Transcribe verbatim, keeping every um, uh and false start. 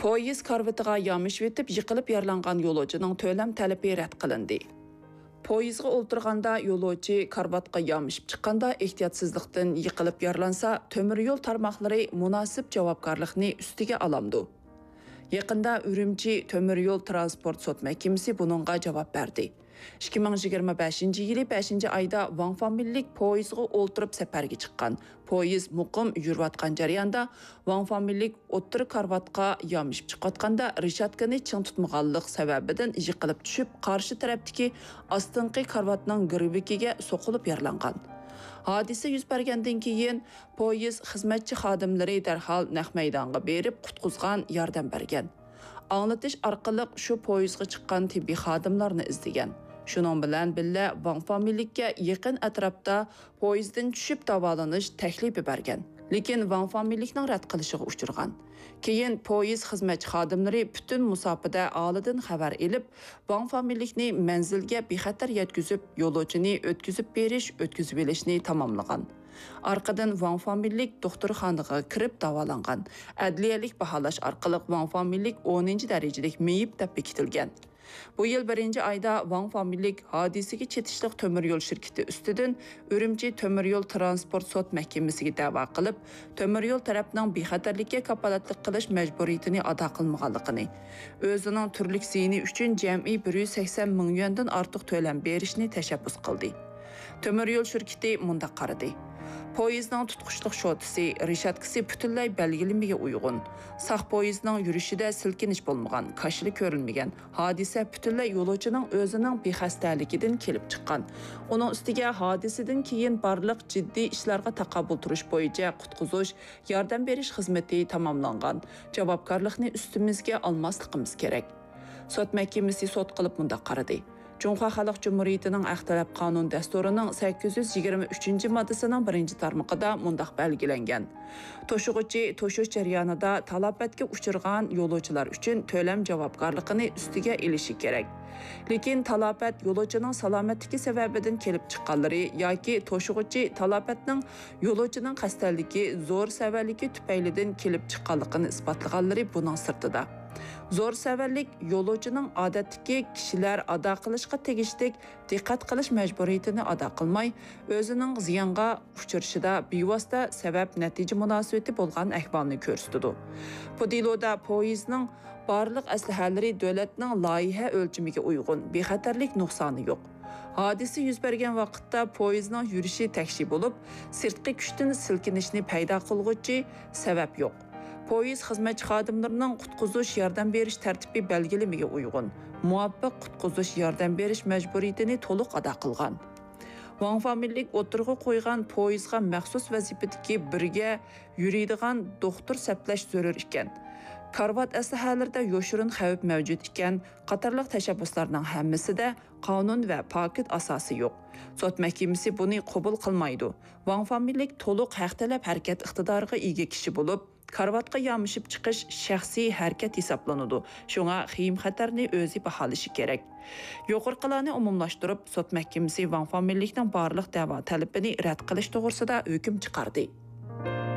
پويىز كارىۋىتىغا يامىشىۋېتىپ يىقىلىپ يارىلانغان يولۇچىنىڭ تۆلەم تەلىپى رەت قىلىندى. پويىزغا ئولتۇرغاندا يولۇچى كارىۋاتقا يامىشىپ چىققاندا، ئېھتىياتسىزلىقتىن يىقىلىپ يارىلانسا، تۆمۈر يول تارماقلىرى مۇناسىپ جاۋابكارلىقنى ئۈستىگە ئالامدۇ؟ يېقىندا ئۈرۈمچى تۆمۈر يول تىرانسپورت سوت مەھكىمىسى بۇنىڭغا جاۋاب بەردى. ئىككى مىڭ يىگىرمە بەشىنچى يىلى بەشىنچى ئايدا ۋاڭ فامىلىلىك پويىزغا ئولتۇرۇپ سەپەرگە چىققان. پويىز مۇقىم يۈرۈۋاتقان جەرياندا، ۋاڭ فامىلىلىك ئوتتۇرا كارىۋاتقا يامىشىپ چىقىۋاتقاندا، رېشاتكىنى چىڭ تۇتمىغانلىق سەۋەبىدىن يىقىلىپ چۈشۈپ، قارشى تەرەپتىكى ئاستىنقى كارىۋاتنىڭ گىرۋىكىگە سوقۇلۇپ يارىلانغان. ھادىسە يۈز بەرگەندىن كېيىن، پويىز خىزمەتچى خادىملىرى دەرھال نەق مەيدانغا بېرىپ، قۇتقۇزغان، ياردەم بەرگەن. ئاڭلىتىش ئارقىلىق شۇ پويىزغا چىققان تېببىي خادىملارنى ئىزدىگەن. شۇنىڭ بىلەن بىللە، ۋاڭ فامىلىلىككە يېقىن ئەتراپتا پويىزدىن چۈشۈپ داۋالىنىش تەكلىپى بەرگەن. لېكىن ۋاڭ فامىلىلىكنىڭ رەت قىلىشىغا ئۇچرىغان. كېيىن پويىز خىزمەتچى خادىملىرى پۈتۈن مۇساپىدە ئالىدىن خەۋەر ئېلىپ، ۋاڭ فامىلىلىكنى مەنزىلگە بىخەتەر يەتكۈزۈپ، يولۇچىنى ئۆتكۈزۈپ بېرىش، ئۆتكۈزۈۋېلىشنى تاماملىغان. ئارقىدىن ۋاڭ فامىلىلىك دوختۇرخانىغا كىرىپ داۋالانغان. ئەدلىيەلىك باھالاش ئارقىلىق ۋاڭ فامىلىلىك ئونىنچى دەرىجىلىك مېيىپ دەپ بېكىتىلگەن. بۇ يىل بىرىنچى ئايدا ۋاڭ فامىلىلىك ھادىسىگە چېتىشلىق تۆمۈر يول شىركىتى ئۈستىدىن ئۈرۈمچى تۆمۈر يول تىرانسپورت سوت مەھكىمىسىگە دەۋا قىلىپ، تۆمۈر يول تەرەپنىڭ بىخەتەرلىككە كاپالەتلىك قىلىش مەجبۇرىيىتىنى ئادا قىلمىغانلىقىنى، ئۆزىنىڭ تۈرلۈك زىيىنى ئۈچۈن جەمئىي بىر يۈز سەكسەن مىڭ يۈەندىن ئارتۇق تۆلەم بېرىشنى تەشەببۇس قىلدى. تۆمۈر يول شىركىتى مۇنداق قارىدى: پويىزنىڭ تۇتقۇچلۇق شوتىسى، رېشاتكىسى پۈتۈنلەي بەلگىلىمىگە ئۇيغۇن. ساق پويىزنىڭ يۈرۈشىدە سىلكىنىش بولمىغان، كاشىلا كۆرۈلمىگەن. ھادىسە پۈتۈنلەي يولۇچىنىڭ ئۆزىنىڭ بىخەستەلىكىدىن كېلىپ چىققان. ئۇنىڭ ئۈستىگە ھادىسىدىن كېيىن بارلىق جىددىي ئىشلارغا تاقابىل تۇرۇش بويىچە قۇتقۇزۇش، ياردەم بېرىش خىزمىتى تاماملانغان. جاۋابكارلىقنى ئۈستىمىزگە ئالماسلىقىمىز كېرەك. سوت مەھكىمىسى سوت قىلىپ مۇنداق قارىدى: جۇڭخۇا خەلق جۇمھۇرىيىتىنىڭ ھەق تەلەپ قانۇن دەستۇرىنىڭ سەككىز يۈز يىگىرمە ئۈچىنچى ماددىسىنىڭ بىرىنچى تارمىقىدا مۇنداق بەلگىلەنگەن: توشۇغۇچى توشۇش جەريانىدا تالاپەتكە ئۇچرىغان يولۇچىلار ئۈچۈن تۆلەم جاۋابكارلىقىنى ئۈستىگە ئېلىشى كېرەك. لېكىن تالاپەت يولۇچىنىڭ سالامەتلىكى سەۋەبىدىن كېلىپ چىققانلىرى ياكى توشۇغۇچى تالاپەتنىڭ يولۇچىنىڭ قەستەنلىكى، زور سەۋەنلىكى تۈپەيلىدىن كېلىپ چىققانلىقىنى ئىسپاتلىغانلىرى بۇنىڭ سىرتىدا. زور سەۋەنلىك يولۇچىنىڭ ئادەتتىكى كىشىلەر ئادا قىلىشقا تېگىشلىك دىققەت قىلىش مەجبۇرىيىتىنى ئادا قىلماي، ئۆزىنىڭ زىيانغا ئۇچرىشىدا بىۋاسىتە سەۋەب نەتىجە مۇناسىۋىتى بولغان ئەھۋالنى كۆرسىتىدۇ. بۇ دېلودا پويىزنىڭ بارلىق ئەسلىھەلىرى دۆلەتنىڭ لايىھە ئۆلچىمىگە ئۇيغۇن، بىخەتەرلىك نۇقسانى يوق. ھادىسە يۈز بەرگەن ۋاقىتتا پويىزنىڭ يۈرۈشى تەكشى بولۇپ، سىرتقى كۈچتىن سىلكىنىشنى پەيدا قىلغۇچى سەۋەب يوق. پويىز خىزمەتچى خادىملىرىنىڭ قۇتقۇزۇش ياردەم بېرىش تەرتىپى بەلگىلىمىگە ئۇيغۇن، مۇۋاپىق قۇتقۇزۇش ياردەم بېرىش مەجبۇرىيىتىنى تولۇق ئادا قىلغان. ۋاڭ فامىلىلىك ئوتتۇرىغا قويغان پويىزغا مەخسۇس ۋەزىپىدىكى بىرگە يۈرىدىغان دوختۇر سەپلەش زۆرۈر ئىكەن، كارىۋات ئەسلىھەلىرىدە يوشۇرۇن خەۋپ مەۋجۇت ئىكەن قاتارلىق تەشەببۇسلارنىڭ ھەممىسىدە قانۇن ۋە پاكىت ئاساسى يوق. سوت مەھكىمىسى بۇنى قوبۇل قىلمايدۇ. ۋاڭ فامىلىلىك تولۇق ھەق تەلەپ ھەرىكەت ئىقتىدارىغا ئىگە كىشى بولۇپ، كارىۋاتقا يامىشىپ چىقىش شەخسىي ھەرىكەت ھېسابلىنىدۇ، شۇڭا خېيىم-خەتەرنى ئۆزى باھالىشى كېرەك. يۇقىرىقىلارنى ئومۇملاشتۇرۇپ، سوت مەھكىمىسى ۋاڭ فامىلىلىكنىڭ بارلىق دەۋا تەلىپىنى رەت قىلىش توغرىسىدا ھۆكۈم چىقاردى.